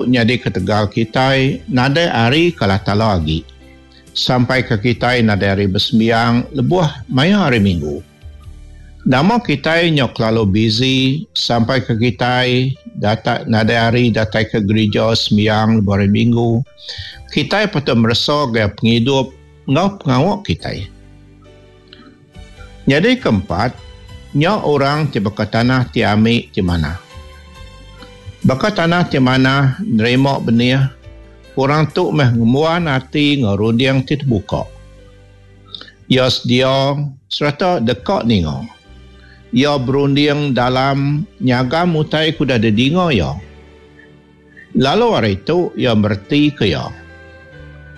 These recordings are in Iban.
nyadi ketegal kitai nadai hari ke Allah Taala agi, sampaika kitai nadai hari besembiang lebuh maya Hari Minggu. Nama kitai nyau kelalu busy sampaika kitai datai nadai hari datai ke gerija sembiang lebuh Hari Minggu, kitai patut meresa gaya pengidup enggau pengawa kitai. Nyadi keempat, nya orang ti baka tanah ti ami ti manah. Baka tanah ti manah nerima benih, orang tu meh ngembuan ati enggau runding ti tebuka. Iya sedia sereta deka ninga. Iya berunding dalam nyagam utai ke udah didinga iya. Lalu ari tu iya meretika iya.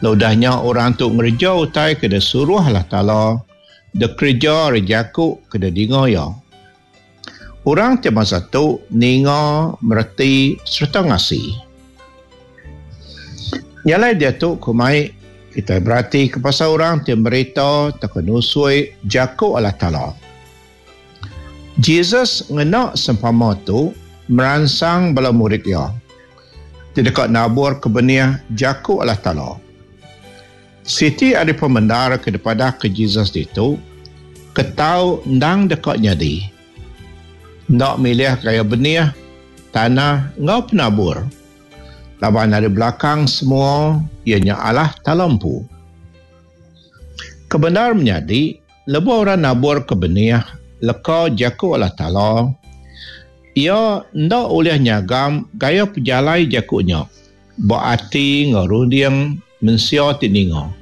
Lalu udah nya orang tu ngereja utai ke disuruh Allah Taala dikereja ari jaku ke didinga iya. Orang ti bansa tu ninga, mereti sereta ngasi. Nya alai diatu ku mai kitai beratika pasal orang ti merita tauka nusui jaku Allah Taala. Jesus ngena sempama tu meransang bala murid iya ti deka naburka benih jaku Allah Taala. Siti ari pemendar ke dipadahka Jesus ditu, ketau endang deka nyadi. Enda milih gaya benih, tanah enggau penabur. Laban ari belakang semua iya nya Allah Taala empu. Kebendar menyadi, Lebuh orang naburka benih leka jaku Allah Taala, iya enda ulih nyagam gaya pejalai jaku nya ba ati enggau runding mensia ti ninga.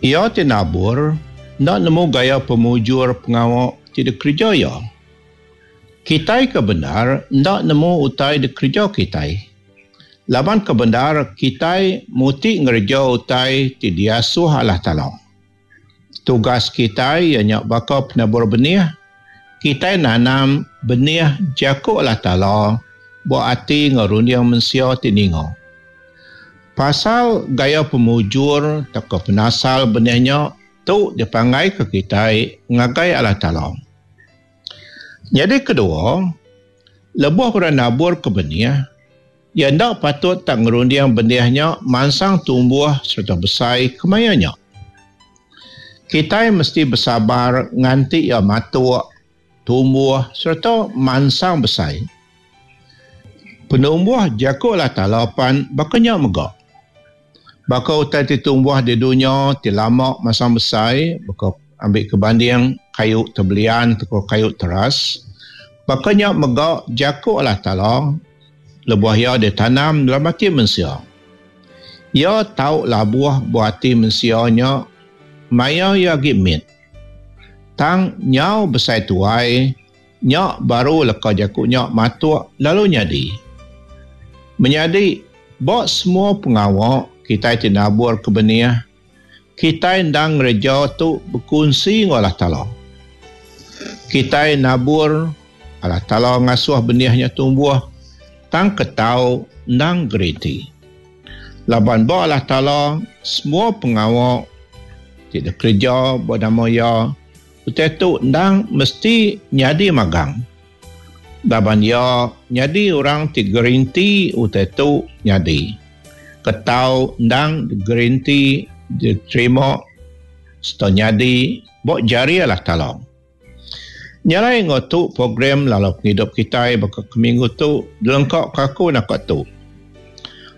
Iya ti nabur enda nemu gaya pemujur pengawa ti dikereja iya. Kitai ke bendar enda nemu utai dikereja kitai. Laban ke bendar kitai muti ngereja utai ti diasuh Allah Taala. Tugas kitai iya nya baka penabur benih, kitai nanam benih jaku Allah Taala ba ati enggau runding mensia ti ninga. Pasal gaya pemujur tauka penasal benih nya tu dipanggaika kitai ngagai Allah Taala. Nyadi kedua, lebuh orang naburka benih, Iya enda patut tak ngerunding benih nya mansang tumbuh sereta besai kemaya nya. Kitai mesti besabar nganti iya matuk, tumbuh sereta mansang besai. Penumbuh jaku Allah Taala pan baka nya mega. Baka utai ti tumbuh di dunya ti lama mansang besai baka ambika banding kayu tebelian tauka kayu teras, baka nya mega jaku Allah Taala lebuh iya ditanam dalam ati mensia. Iya tau labuh ba ati mensia nya maya iya agi mit. Tang nyau besai tuai nya baru leka jaku nya matuk lalu nyadi. Menyadi, ba semua pengawa kitai ti nabur ke benih, kitai endang ngereja tu bekunsi enggau Allah Taala. Kitai nabur, Allah Taala ngasuh benih nya tumbuh, tang ketau endang geriti. Laban ba Allah Taala, semua pengawa ti dikereja ba nama Iya, utai tu endang mesti nyadi magang. Laban iya nyadi orang ti gerinti utai tu nyadi. Ketau endang gerinti diterima sereta nyadi ba jari Allah Taala. Nya alai enggau tu program lalau pengidup kitai baka ke minggu tu dilengka ka aku naka tu.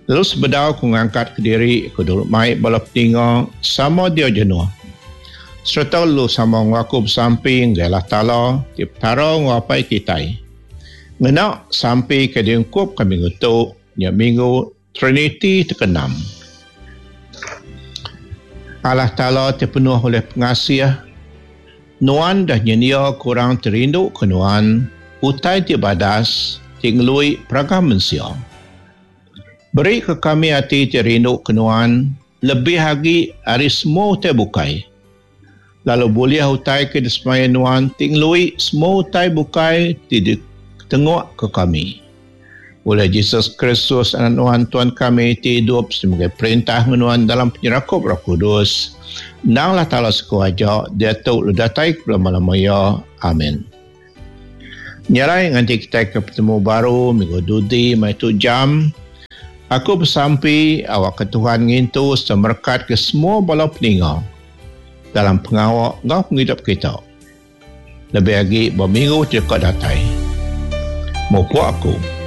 Lalu sebedau ku ngangkat kediri ku dulu mai bala peninga sama dia jenuh. Sereta lalu sama enggau aku besampi ngagai Allah Taala ti Petara enggau Apai kitai. Ngena sampi ke diungkupka minggu tu nya minggu Triniti ti keenam. Allah Taala ti penuh ulih pengasih, Nuan dah nyendiaka orang ti rinduka Nuan utai ti badas ti ngelui peragam mensia. Berika kami ati ti rinduka Nuan lebih agi ari semua utai bukai, lalu bulih utai ke disemaya Nuan ti ngelui semua utai bukai ti ditengukka kami. Ulih Jesus Kristus, Anak Nuan, Tuan kami, ti idup sebagai perintah enggau Nuan dalam penyerakup Roh Kudus, endang Allah Taala siku aja, diatu lalu datai ke belama-lama iya. Amin. Nya alai nganti kitai ke betemu baru minggu dudi maya tu jam. Aku besampi awakka Tuhan ngintu sereta merekatka semua bala peninga dalam pengawa enggau pengidup kita. Lebih agi ba minggu ti deka datai. Mupuk aku.